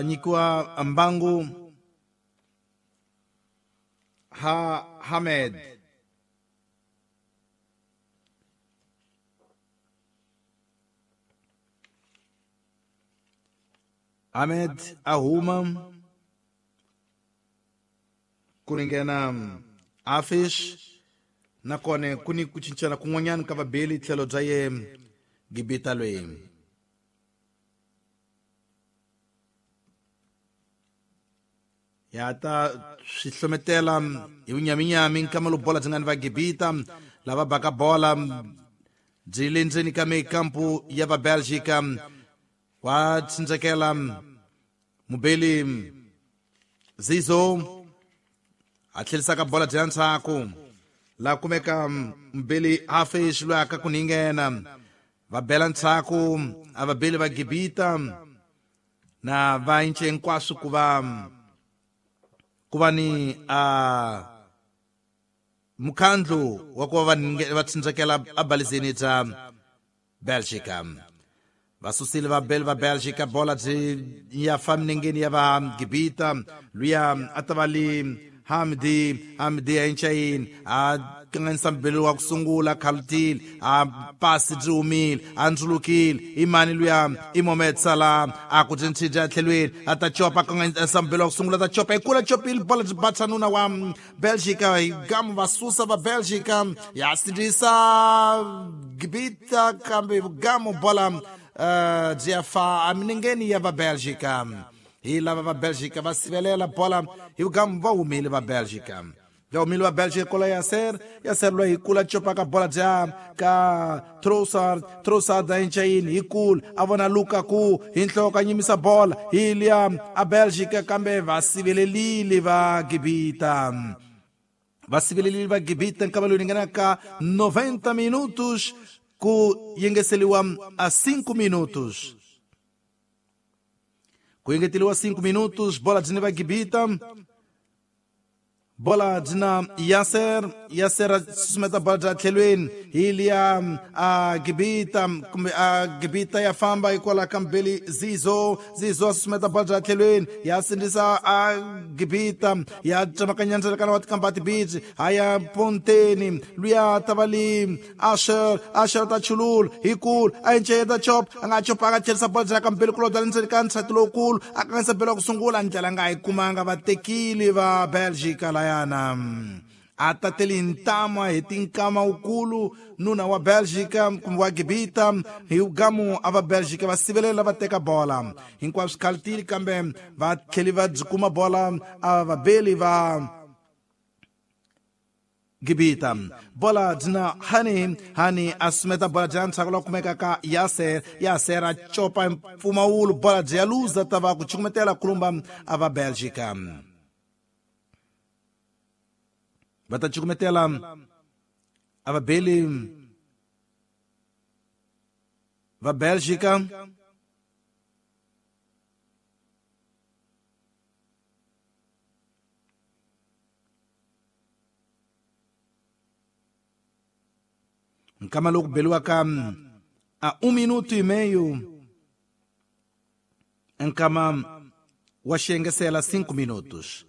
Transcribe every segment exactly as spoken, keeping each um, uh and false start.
Nyikiwa mbangu ha Hamed Ahmed a huma ku ringena Afish nakona ku ni ku cincana kun'wanyana ka vabeli tlhelo bya ye Gibita loyi ya ta swi hlometela hi vunyaminyami nkama lowu bola byi nga ni va Gibita lava baka bola byi le ndzeni ka mikampu ya va Belgica wa tsindzekela mubeli Zizo a tlherisaka bola bya ndzhaku la kumeka mubeli Afish loyi aka ku ninghena va bela ndzhaku a vabeli va Gibita na va ince hinkwaswo ku va ku va ni a mukhandlu wa ku va va tsindzekela abalizeni bya Belgica va susile vabeli va Belgica bola byi ya fa minengeni ya va Gibita luya a ta va li Hamdi Hamdi a inchayini a kanganyisa mbeli wa ku sungula khalutile a pasi byi humile a ndzulukile i mani luya i Mohamed Salah a ku byi ntshidya tlhelweni a ta copa kanganyisa mbeli wa ku sungula ta copa hi kula copile bola byi batsa nuna wa Belgica hi gamu va susa va Belgica ya sindzisa Gibita kambe gamu bola byi ya fa eminengeni ya va Belgica hi lava va Belgica va sivelela bola hi vugamu va humile va Belgica va humile va Belgica kola Yasser Yasser loyi hi kula copaka bola bya ka Trossard Trossard a inchayini hi kula a vona Lukaku hi nhloko a nyimisa bola hi liya a Belgica kambe va sivelelile va Gibita va sivelelile va Gibita nkama lowu ringanaka noventa minutos ku yengeseliwa a cinco minutos ku engeteliwa cinco minutos bola byi ni va Gibita bola byi na Yasser Yasser a susumeta bola bya tlhelweni hi liya a Gibita kumbe a Gibita ya famba hikwalaho ka mbeli Zizo Zizo a susumeta bola bya tlhelweni ya sindzisa a Gibita ya tsemakanya ndzalakano wa tikambati beach a ya ponteni luya ta va li Asher Asher ta chulula hi kulu a inceda chop a nga chopanga tlherisa bola bya ka mbeli kulobya le ndzeni ka nsati lowukulu a kanganyisa mbeli wa ku sungula ndlela nga yi kumanga va tekile va Belgica layana a tateli ntama hi tinkama wukulu nuna wa Belgica kumbe wa Gibita hi gamu a va Belgica va sivelela va teka bola hinkwaswo swi khalutile kambe va tlheli va byi kuma bola a vabeli va Gibita bola byi Hani Hani a sumeta bola bya ndzhaku la kumeka ka Yasser Yasser a copa mpfumawulo bola byi ya luza ta va ku cukumetela kulumba a va Belgica va ta cukumetela a vabeli va Belgica nkama loku beliwaka a um minuto e meio nkama wa xiengesela cinco minutos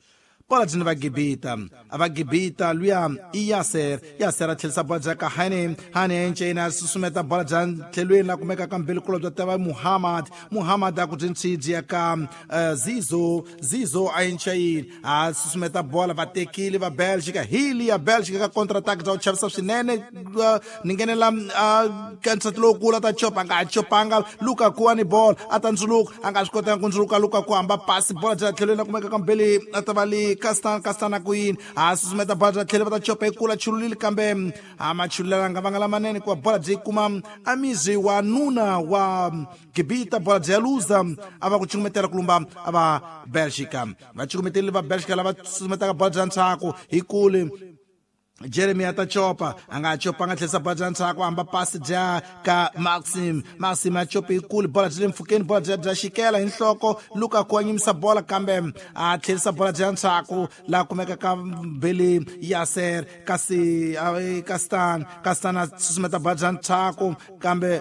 bola byi ni va Gibita a va Gibita luya i Yasser Yasser a tlherisa bola bya ka Hani Hani enceni a susumeta bola bya tlhelweni la kumeka ka mbeli kulo bya tava Muhammad Muhammad a ku byi ntshidzi ya ka uh, Zizo Zizo a encayini a susumeta bola va tekile va Belgica hili ya Belgica ka counter attack bya ku chavisa swinene uh, ni nghenela uh, ka nsati lowukulu a ta copa a nga ha copanga Lukaku a ni bola a ta ndzuluka a nga swi kotanga ku ndzuluka Lukaku hamba pasi bola bya tlhelweni la kumeka ka mbeli a ta va li Kastan Kastan ku yini a susumeta bola bya tlhelo va ta copa hi kula chululile kambe a machululela nga vanga lamanene hikuva bola byi kuma amizi wa nuna wa Gibita bola byi ya luza a va ku cukumetela kulumba a va Belgica va cukumetelile va Belgica lava susumetaka bola bya ndzhaku hi kule Jeremy a ta copa a nga copa a nga tlherisa bola bya ndzhaku hamba pasi bya ka Maxim Maxim a copa hi kulu bola byi le mpfhukeni bola bya bya xikela hi nhloko Lukaku a nyimisa bola kambe a tlherisa bola bya ndzhaku laha kumeka ka mbeli Yasser kasi Kastan Kastan a susumeta bola bya ndzhaku kambe